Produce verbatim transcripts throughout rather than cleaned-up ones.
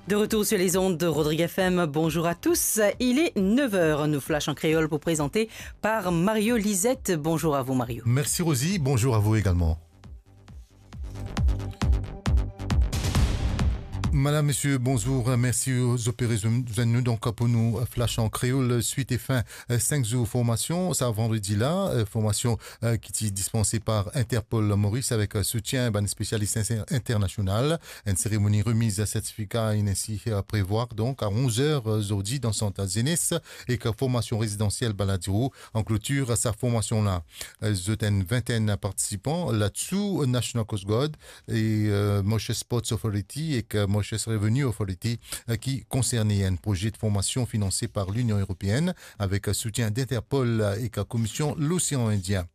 De retour sur les ondes de Rodrigue F M, bonjour à tous. Il est neuf heures, nou flash an kreol pou prezante par Mario Lisette. Bonjour à vous, Mario. Merci, Rosie. Bonjour à vous également. Madame, messieurs, bonjour. Merci aux opérations. Nous, donc, pour nous, flash en créole, suite et fin, euh, cinq jours formation. Sa, vandredi la, euh, formation, euh, ki ti dispanse par Interpol Maurice avek, euh, soutien bann spesialis inter-, internasional. Enn seremoni remiz sertifika inn ainsi, euh, prevoir, donk, a onz er, euh, zordi dan sant zenes ek formasion rezidansiel Baladiro. An klotir sa formasion la, euh, zot enn vintenn partisipan, ladsu National Coast Guard e, euh, Mauritius Ports Authority ek, euh, Mauritius Revenue Authority, euh, ki konserne. Enn proze de formasion finanse par Linion Eropeann avek, euh, soutien d'Interpol, euh, ek, euh, Komision Losean Indien.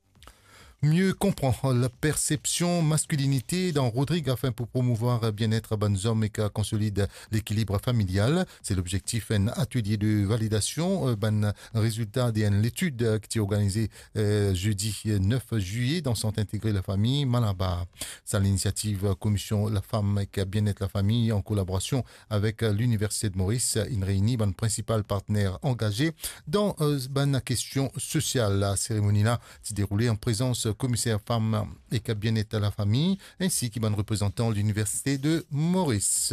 Mieux konpran la persepsion maskilinite dan Rodrig afin pou promouvoir bienet bann zom ek konsolid lekilib familial. Se lobzektif enn atelie de validasion, euh, bann rezilta de enn letid, euh, ki ti organize, euh, zedi, euh, nef zilye dan Sant Integre Lafami Malabar. Sa linisiativ, euh, Komision Lafam ek Bienet Lafami an kolaborasion avek, euh, Liniversite de Moris, euh, inn reyni bann prinsipal partner angaze dan, euh, bann kestion sosial. La seremoni la ti deroule an prezans Komiser Fam ek Bienet Lafami, ensi ki bann reprezantan Liniversite de Moris.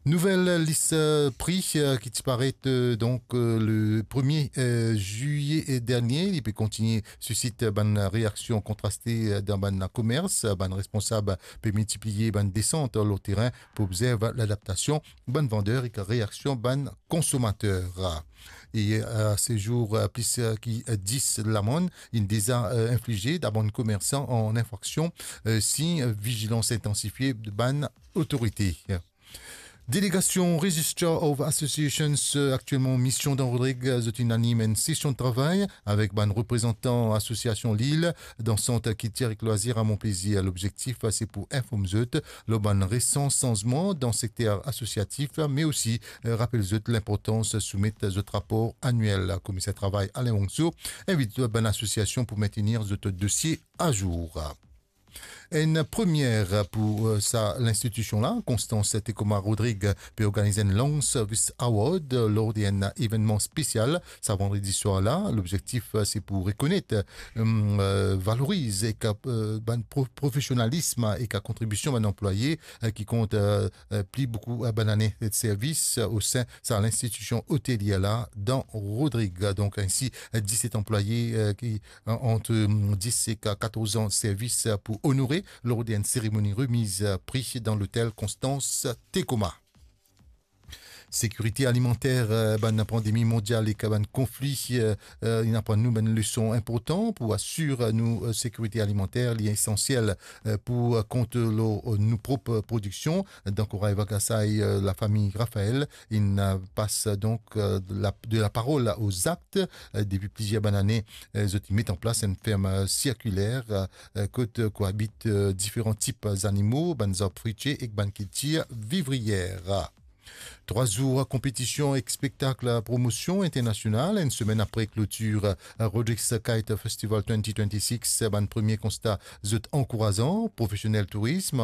Nouvel lis, euh, pri, euh, ki ti paret, euh, donk, euh, le premie, euh, zilye dernie, li pe kontigne sisit bann reaksion kontraste, euh, dan bann komers. Bann responsab pe miltipliye bann desant lor terin pou obzerv ladaptasion bann vander ek reaksion bann konsomater. E, euh, se zour, euh, plis, euh, ki, euh, dis lamann inn deza, euh, inflize a bann komersan an infraksion, euh, si, euh, vizilans intansifie bann otorite. Delegasion Registrar of Associations, euh, aktielman mision dan Rodrig, euh, zot inn anim enn sesion de travay avek bann reprezantan asosiasion Lil dan Sant Kiltir ek Lwazir a Monplezir. Lobzektif, euh, se pou inform zot lor bann resan sanzman dan sekter asosiatif, me osi, euh, rapel zot linportans soumet zot rapor aniel. Komiser Travay Alain Wongso invit bann asosiasion pou mentenir zot dosie azour. Enn premie pou, euh, sa linstitision la, Constance Tecoma Rodrig pe organiz enn Long Service Award, euh, lor de enn evennman spesial sa vandredi swar la. Lobzektif, euh, se pou rekonet, euh, valoriz ek, euh, bann pro-, profesionalism ek kontribision bann anplwaye, euh, ki kont, euh, euh, pli boukou, euh, bann ane de servis, euh, o sin sa linstitision otelie la dan Rodrig. Donk, ensi, euh, diset anplwaye, euh, ki, euh, ant, euh, dis ek katorz an servis, euh, pou onore lor de enn seremoni remiz, euh, pri dan lotel Constance Tecoma. Sekirite alimanter, euh, bann pandemi mondial ek bann konfli, euh, euh, inn aprann nou bann leson inportan pou asir nou, euh, sekirite alimanter. Li esansiel, euh, pou, euh, kont lor, euh, nou prop, euh, prodiksion. Dan Koray Vagasay, euh, lafami Raphaël inn, euh, pas, euh, donk, euh, de la, de la parol aux actes. Euh, depi plizier bann ane, euh, zot inn met an plas enn ferm, euh, sirkiler, euh, euh, kot, euh, koabit, euh, diferan tip zanimo, bann zarb fritier ek bann kiltir vivrier. Trwa zour konpetision ek spektak promosion internasional, enn semenn apre klotir, euh, Rodrigues Kite Festival twenty twenty-six, bann premie konsta zot ankourazan. Profesionel tourism,